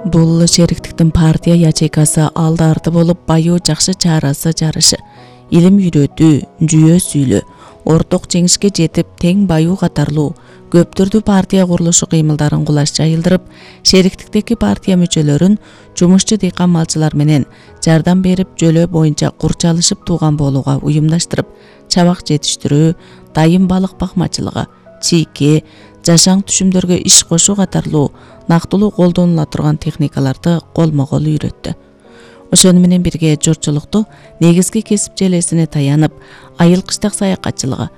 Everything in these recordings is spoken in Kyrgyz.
Бул шериктиктин партия ячейкасы алды-арты болуп баю жакшы чарасы жарышы, илим үйрөтүү, жүйө сүйлөө, орток жеңишке жетип тең баю катарлуу көптүрдүү партия курулушу кыймылдарын кулаш жайылдырып, шериктиктеги партия мүчөлөрүн жумушчу дыйкан малчылар менен жардам берип жөлөө боюнча курчалышып тууган болууга уюмдаштырып, чабак жетиштирүү, дайым балык бакмачылыгы, чийке, жашаң түшүмдөргө иш кошуу катарлуу нактылуу колдонула турган техникаларды колмо-кол үйрөттү. Ошону менен бирге журтчулукту негизги кесип желесине таянып, айыл кыштак саякатчылыгы,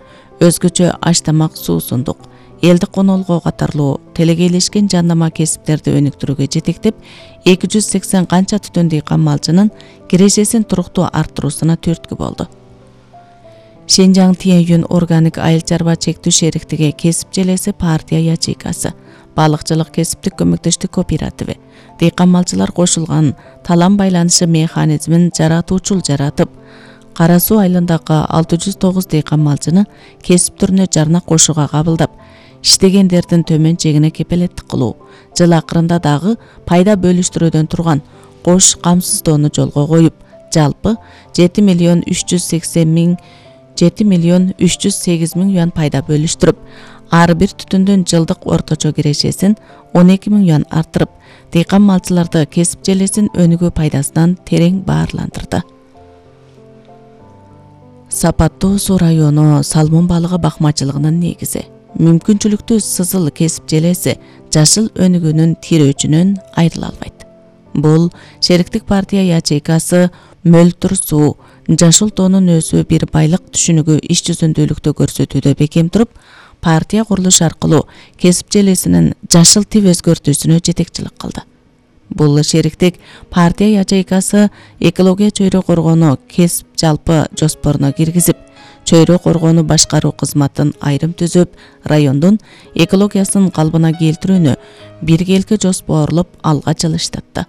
өзгөчө аш-тамак, суусундук, элдик конолгоо катарлуу телегейлешкен жандама кесиптерди өнүктүрүүгө жетектеп, 280 канча түтөн дыйкан малчынын кирешесин туруктуу арттыруусуна түрткү болду. Шенжаң Тиен-Юн органик айыл чарба чектүү шериктиги кесип желеси партия ячейкасы, балыкчылык кесиптик көмөктөштүк кооперативи, дыйкан малчылар кошулган талан байланышы механизмин жаратуучул жаратып, Кара Суу айылындагы 609 дыйкан малчыны кесип түрүнө жарна кошууга кабылдап, иштегендердин төмөн чегине кепелеттик кылуу, жыл акырында дагы пайда бөлүштүрүүдөн турган кош камсыздоону жолго коюп, жалпы 7 миллион 308 миң юан пайда бөлүштүрүп, ар бир түтүндүн жылдык орточо кирешесин 12 миң юан арттырып, дыйкан малчыларды кесип желесин өнүгүү пайдасынан терең баарландырды. Сапаттуу суу району салмон балыгы бакмачылыгынын негизи, мүмкүнчүлүктүү сызыл кесип желеси жашыл өнүгүүнүн тирөөчүнөн айрыла албайт. Бул шериктик партия ячейкасы мөлтүр суу, жашыл тоонун өсүү бир байлык түшүнүгү иш жүзүндүүлүктү көрсөтүүдө бекем туруп, партия курулуш аркылуу кесип желесинин жашыл тип өзгөртүүсүнө жетекчилик кылды. Бул шериктик партия ячейкасы экология чөйрө коргоону кесип жалпы жоспоруна киргизип, чөйрө коргоону башкаруу кызматын айрым түзүп, райондун экологиясын калыбына келтирүүнү биргеликке жоспорлоп алга жылыштатты.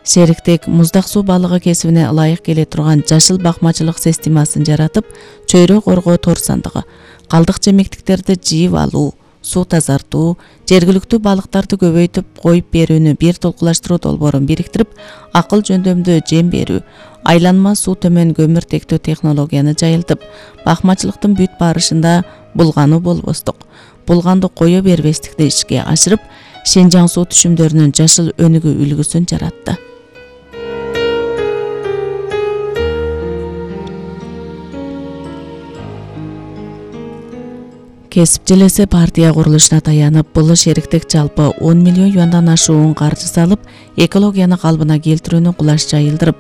Шериктик муздак суу балыгы кесибине ылайык келе турган жашыл бакмачылык системасын жаратып, чөйрө коргоо тор сандыгы, калдык жемектиктерди жыйып алуу, суу тазартуу, жергиликтүү балыктарды көбөйтүп коюп берүүнү бир толкулаштыруу долбоорун бириктирип, акыл жөндөмдүү жем берүү, айланма суу төмөн көмүртектөө технологияны жайылтып, бакмачылыктын бүт барышында булгануу болбостук, булганды кое бербестикти ишке ашырып, Шенжаң суу түшүмдөрүнүн жашыл өнүгүү үлгүсүн жаратты. Кесип желеси партия курулушуна таянып, бул шериктик жалпы 10 миллион юандан ашуун каржы салып, экологияны калыбына келтирүүнү кулаш жайылдырып,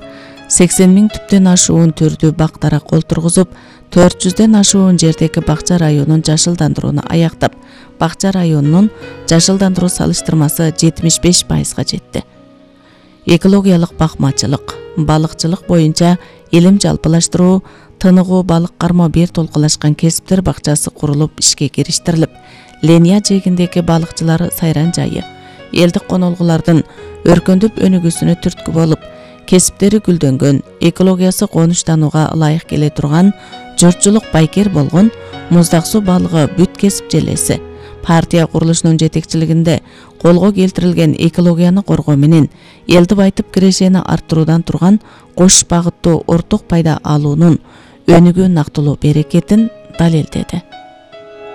80 миң түптөн ашуун түрдүү бактара кол тургузуп, 400ден ашуун жердеги бакча районун жашылдандырууну аяктап, бакча районунун жашылдандыруу салыштырмасы 75%га жетти. Экологиялык бакмачылык, балыкчылык боюнча илим жалпылаштыруу, тыныгуу балык кармоо бир толкулашкан кесиптер бакчасы курулуп ишке кириштирилип, Ления жээгиндеги балыкчылар сайран жайы, элдик конолгулардын өркөндөп өнүгүүсүнө түрткү болуп, кесиптери гүлдөнгөн, экологиясы конуштанууга ылайык келе турган, журтчулук байкер болгон муздак суу балыгы бүт кесип желеси партия курулушунун жетекчилигинде колго келтирилген экологияны коргоо менен элди байтып кирешени арттыруудан турган кош багыттуу орток пайда алуунун өнүгүү нактылуу берекетин далилдеди.